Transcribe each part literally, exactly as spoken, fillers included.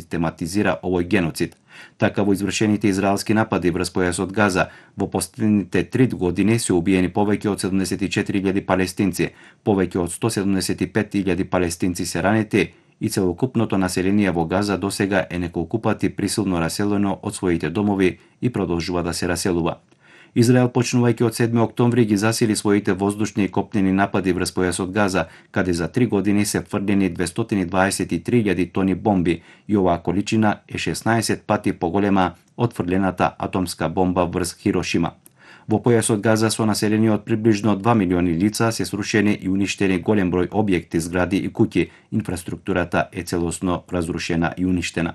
систематизира овој геноцид. Така во извршените израелски напади врз појасот Газа во последните три години се убиени повеќе од седумдесет и четири илјади палестинци, повеќе од сто седумдесет и пет илјади палестинци се ранети и целокупното население во Газа досега е неколку пати присилно раселено од своите домови и продолжува да се раселува. Израел, почнувајќи од седми октомври, ги засили своите воздушни и копнени напади врз појасот Газа, каде за три години се фрдени двестоти и дваесет и три илјади тони бомби и оваа количина е шеснаесет пати поголема од фрлената атомска бомба врз Хирошима. Во појасот Газа со население од приближно два милиони лица се срушени и уништени голем број објекти, згради и куќи, инфраструктурата е целосно разрушена и уништена.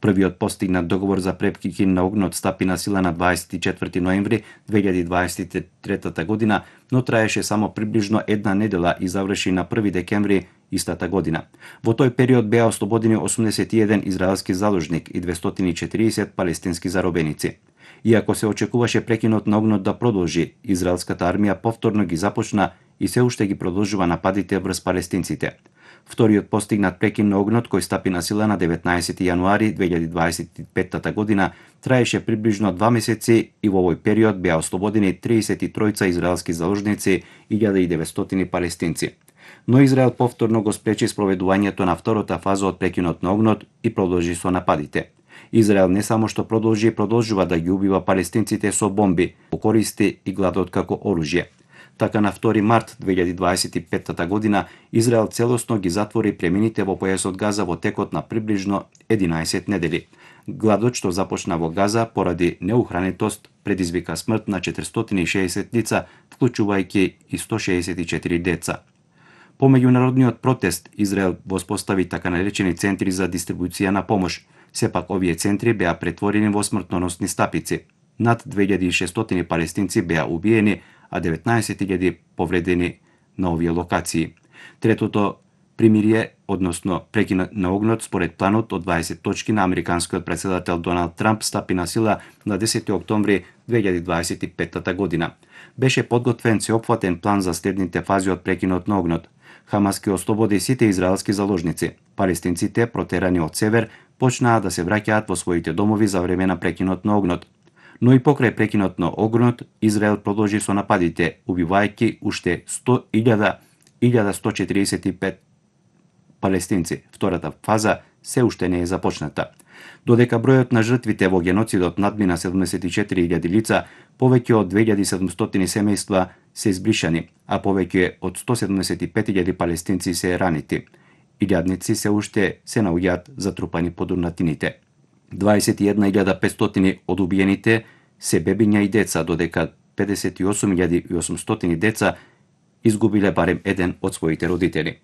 Првиот постигнат договор за прекин на огнот стапи на сила на дваесет и четврти ноември две илјади дваесет и трета година, но траеше само приближно една недела и заврши на први декември истата година. Во тој период беа ослободени осумдесет и еден израелски заложник и двестоти и четириесет палестински заробеници. Иако се очекуваше прекинот на огнот да продолжи, израелската армија повторно ги започна и се уште ги продолжува нападите врз палестинците. Вториот постигнат прекин на огнот, кој стапи на сила на деветнаесети јануари две илјади дваесет и петта година, траеше приближно два месеци и во овој период беа ослободени триесет и тројца израелски заложници и илјада и деветстотини палестинци. Но Израел повторно го спречи спроведувањето на втората фаза од прекинот на огнот и продолжи со нападите. Израел не само што продолжи и продолжува да ги убива палестинците со бомби, користи и гладот како оружје. Така на втори март две илјади дваесет и петта година Израел целосно ги затвори премините во појасот Газа во текот на приближно единаесет недели. Гладот што започна во Газа поради неухранетост предизвика смрт на четиристотини и шеесет лица, вклучувајќи и сто шеесет и четири деца. По меѓународниот протест Израел воспостави така наречени центри за дистрибуција на помош. Сепак овие центри беа претворени во смртоносни стапици. Над две илјади и шестстотини палестинци беа убиени, а деветнаесет илјади повредени на овие локации. Третото примирие, односно прекинот на огнот според планот од дваесет точки на американскиот претседател Доналд Трамп стапи на сила на десети октомври две илјади дваесет и петта година. Беше подготвен сеопфатен план за следните фази од прекинот на огнот. Хамас ке ослободи сите израелски заложници. Палестинците, протерани од север, почнаа да се враќаат во своите домови за време на прекинот на огнот. Но и покрај прекинот на огнот, Израел продолжи со нападите, убивајќи уште сто илјада сто четиридесет и пет палестинци. Втората фаза се уште не е започната. Додека бројот на жртвите во геноцидот надмина седумдесет и четири илјади лица, повеќе од две илјади и седумстотини семејства се избришани, а повеќе од сто седумдесет и пет илјади палестинци се ранети. Илјадници се уште се наоѓаат затрупани под урнатините. дваесет и една илјада петстотини од убиените се бебиња и деца, додека педесет и осум илјади и осумстотини деца изгубиле барем еден од своите родители.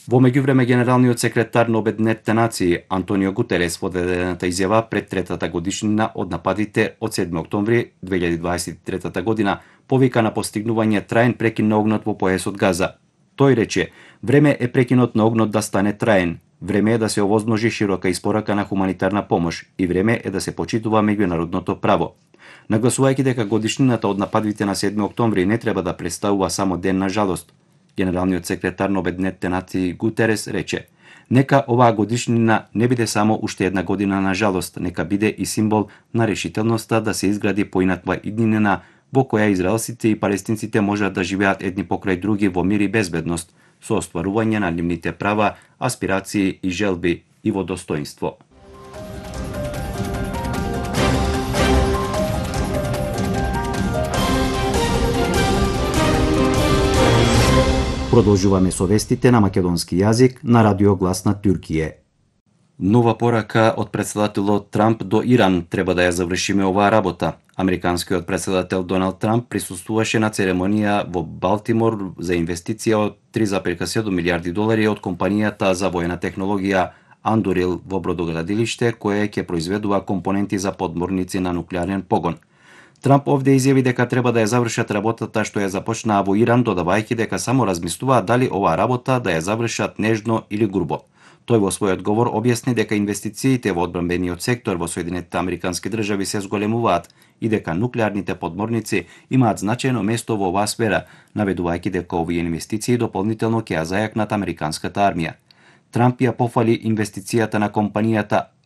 Во меѓувреме, генералниот секретар на Обединетите нации Антонио Гутерес во дадената изјава пред третата годишнина од нападите од седми октомври две илјади дваесет и трета година повика на постигнување траен прекин на огнот во појасот Газа. Тој рече: "Време е прекинот на огнот да стане траен. Време е да се овозможи широка испорака на хуманитарна помош и време е да се почитува меѓународното право." Нагласувајќи дека годишнината од нападите на седми октомври не треба да представува само ден на жалост, генералниот секретар на Обединетите нации Гутерес рече: "Нека оваа годишнина не биде само уште една година на жалост, нека биде и символ на решителноста да се изгради поинаква иднина во која израелците и палестинците можат да живеат едни покрај други во мир и безбедност, со остварување на нивните права, аспирации и желби и во достоинство." Продолжуваме со вестите на македонски јазик на Радио Глас на Туркије. Нова порака од претседателот Трамп до Иран: "Треба да ја завршиме оваа работа." Американскиот претседател Доналд Трамп присуствуваше на церемонија во Балтимор за инвестиција од три зарез и седум милијарди долари од компанијата за воена технологија Андурил во бродоградилиште кое ќе произведува компоненти за подморници на нуклеарен погон. Трамп овде изјави дека треба да ја завршат работата што ја започнаа во Иран, додавајќи дека само размислуваат дали оваа работа да ја завршат нежно или грубо. Тој во својот говор објасни дека инвестициите во одбранбениот сектор во Соединетите Американски држави се зголемуваат и дека нуклеарните подморници имаат значајно место во оваа сфера, наведувајќи дека овие инвестиции дополнително ќе ја зајакнат американската армија. Трамп ја пофали инвестицијата на компанијата